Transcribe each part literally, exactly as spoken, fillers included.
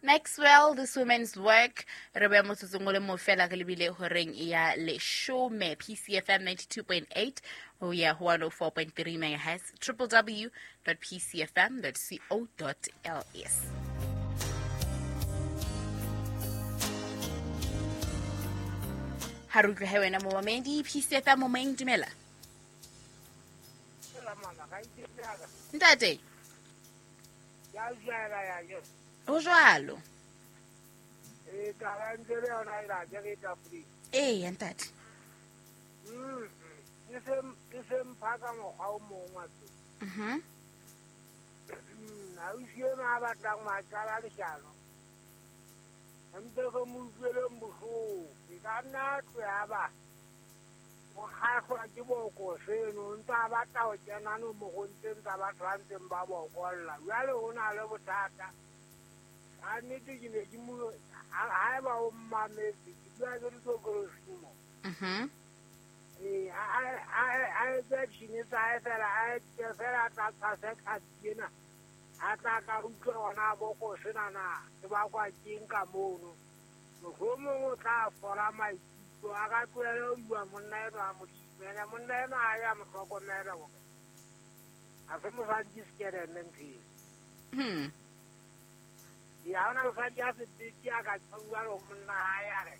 Maxwell, This Woman's Work. Re beya motsotsong o le mo fela re lebile horeng ya leshome. P C F M ninety-two point eight ho ya ho one oh four point three megahertz, w w w dot p c f m dot co dot l s. Ha re utlwe he wena momamedi, P C F M momeng, dumela. Ntate. O jwalo. Eh taba ntse le yona e la ke re tafuri. Eh ntate. Mm. Ke se ke se mphaka mokgwa o mong wa tse. Mhm. Mm, ha o siye ma batlang ma qala leshano. Ntse go mo utlweleng bohloko. Ke ka nna tloya ba. O kgahlwa ke boko seno, ntse a batla ho kena no mo ntseng tsa batho ba ntseng ba bokolla. Jwale ho na le bothata. Ka nnete ke ne ke mo haeba o mmametse, ke bua ke ditokolosi mo. Mhm. Eh, a a a etse tjhini tsa hae fela, a etse fela a tla tshase tlhapi ena. A tla ka utlwa hona boko sena na, ke bakwa keng ka mono. Mohlomong o tla fola maikutlo, a ka tlohele ho bua monna enwa a Modimo. Ene monna enwa ha ya mo hlokomela hore ha se mosadi ke sekeleme ntho eo. Hmm. Ya hona mosadi a sebete a ka bua le monna hae a re,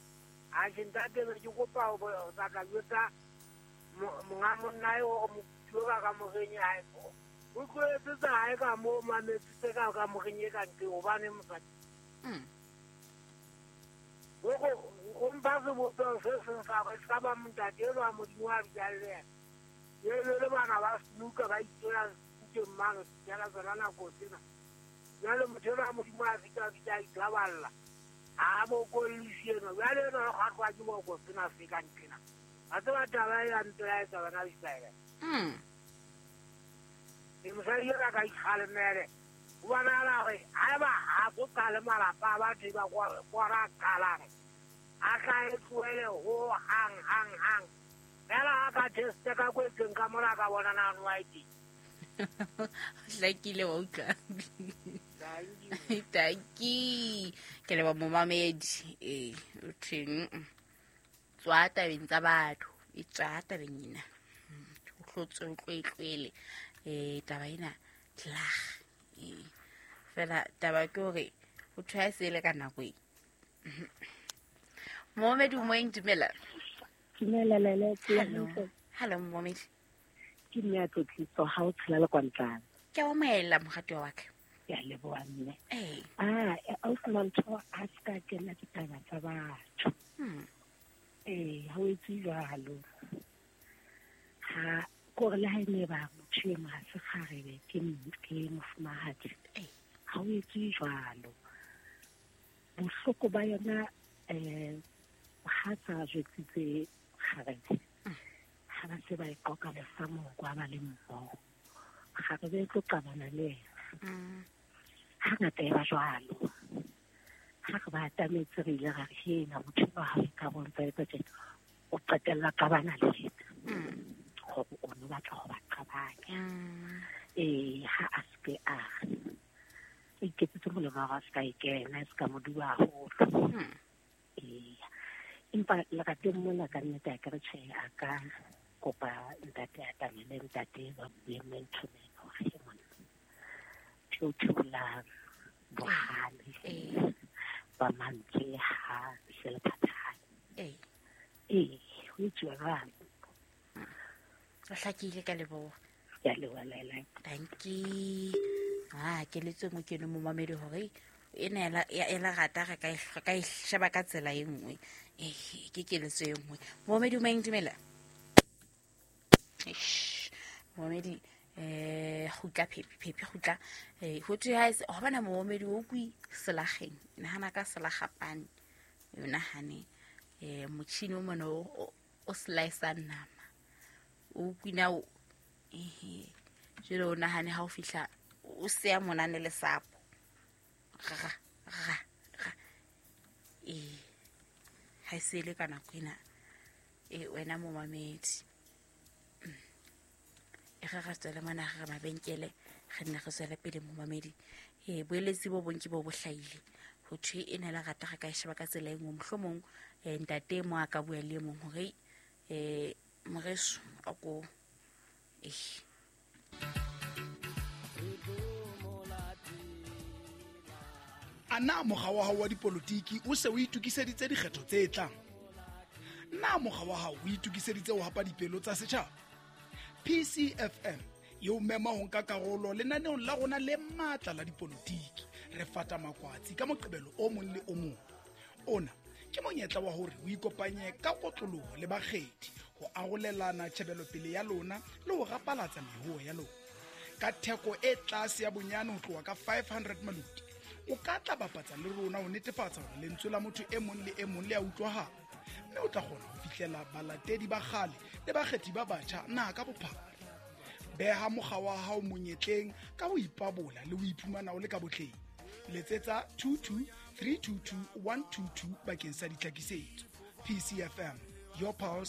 atjhe ntate be ke kopa ho tla ka jwetsa monga monna eo hore mokutu ka kamoreng ya hae. O tlohetse tsa hae ka moo, mametsitse ka kamoreng e ka ntle hobane mosadi. Mm. O mpha sebopeho se seng sa hore se ka ba ntate enwa Modimo a bitsang le yena. Ebe le bana ba snuka ba itela ntlong mane, fihlela tsona nako tsena. Jwale motho enwa Modimo a fihla a fihla a ithaballa. Ha bokollisi enwa. Jwale enwa o kgahlwa ke boko sena se ka ntlena. Wa tseba taba e ya mpelaetsa bana Iseraele. Mm. E mosadi enwa ka ikgalemele. Ho bonahala hore haeba ha so qale malapa a batho ba kwa qalang, a tla e tlohele ho hang hang hang. Fela ha ka teste ka kwetseng ka mora ka bona na nwa e teng. Hlakile wa utlwa. Tanki. Ke leboha momamedi. Eh, o thweng? Tswa tabeng tsa batho, e tswa tabeng ena. O hlotse o tlwetlwele. Eh, taba ena tlah. Eh, fela taba ke hore o thwa se le ka nako e. Momamedi o moeng, dumela. Dumela Lele. Hello. Hello momamedi. Ke mme a tlotliso ha o tshela le kwantlana. Ke a omaela moratuwa wa ka. Ke a leboha mme. Eh. Ah, ausi Mantho ha se ka kena ditaba tsa batho. Hmm. Eh, ha o etse jwalo. Ha kore le ha e ne ba motho e ha se kgarebe ke ke mofumahadi. Eh. Ha o etse jwalo. Bohloko ba yona eh ha sa jwetsitse kgarebe. Ha ba se ba e qoqa lesamong kwa ba le mmoho. Kgarebe e tlo qabana le yena. Mm. Hangata e ba jwalo. Ha re ba atametse re ile ra re hena motho enwa ha o ka bontsha etsa tjena, o qetella qabana le yena. Mm. Hore o no batla ho ba qabanya. Mm. Eh, ha a se ke a re iketsetse molemo wa hore a se ka e kena, e se ka mo dua haholo. Mm. Eh, empa lerateng mona ka nnete a ke re tjhe, a ka kopa ntate a tamele ntate ba bue man to man hore he monna theo theola bohale Eh. ba mantswe ha se le phathane. Eh. Eh, ho etsuwa jwalo. O hlakile ka leboha. Ke a leboha Lele. Thank you. Ah, keletso e nngwe ke eno momamedi hore ena ela e la rata re ka e re ka e sheba ka tsela e nngwe. Eh, ke keletso e nngwe. Momamedi o moeng, dumela. Eish, momamedi eh kgutla phepi phepi kgutla. Eh, ho thwe ha e se hobana momamedi o kwi selageng. Nahana ka selagapane. O nahane eh motjhini o mona o o slice nama. O kwina o eh jwale o nahane ha o fihla o seya monane le sapo. Ra ra ra. Eh ha se le ka nako ena. Eh wena momamedi. E re re tswele mona re mabenkele re nne re tswele pele momamedi. Eh boeletsi bo bonki bo bo hlahile. Ho thwe e ne la rata ga ka e sheba ka tsela e nngwe mohlomong eh, ntate mo a ka bua le e mong hore eh moreso a ko eh A na mokga wa hao wa dipolotiki o se o itokiseditse dikgetho tse tlang? Na mokga wa hao o itokiseditse ho hapa dipelo tsa setjhaba? P C F M e o mema ho nka karolo lenaneong la rona le matla la dipolotiki. Re fata makwatsi ka Moqebelo o mong le o mong. Ona ke monyetla wa hore o ikopanye ka kotloloho le bakgethi ho arolelana tjhebelopele ya lona le ho rapalatsa mehoo ya lona. Ka theko e tlase ya bonyane ho tloha ka five hundred maluti, o ka tla bapatsa le rona ho netefatsa hore lentswe la motho e mong le e mong le a utlwahala, mme o tla kgona ho fihlela balatedi ba kgale le bakgethi ba batjha naha ka bophara. Beha mokga wa hao monyetleng ka ho ipabola le ho iphumana o le ka botleng. Letsetsa two two three two two one two two bakeng sa ditlhakisetso. P C F M, your pulse.